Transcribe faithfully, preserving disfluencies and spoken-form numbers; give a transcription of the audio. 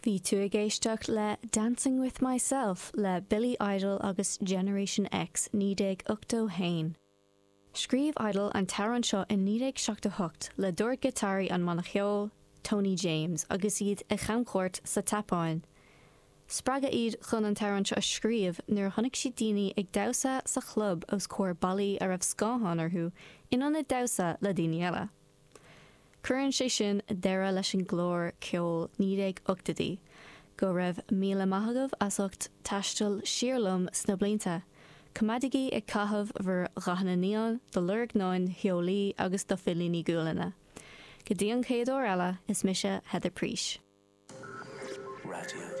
Bhí tú ag éisteacht le Dancing with Myself le Billy Idol agus Generation X naoi déag ochtó haon. Scríobh Idol an t-amhrán seo in naoi déag seachtó hocht le dordghiotáraí an mbanna cheoil, Tony James, agus iad ar chamchuairt sa tSeapáin. Spreagadh iad chun an t-amhrán seo a scríobh nuair a chonaic siad daoine ag damhsa sa chlub os comhair ballaí a raibh scátháin orthu in ionad damhsa le daoine eile. Cuireann sé sin deireadh leis an gclár ceol naoi déag ochtóidí. Go raibh míle maith agaibh as ucht taisteal siar liom sna blianta. Coimeádaigí ag caitheamh bhur ndathanna neon, do lorgnáin theolaí agus do phillíní gualainne. Go dtí an chéad uair eile, is mise Heather Preach. Radio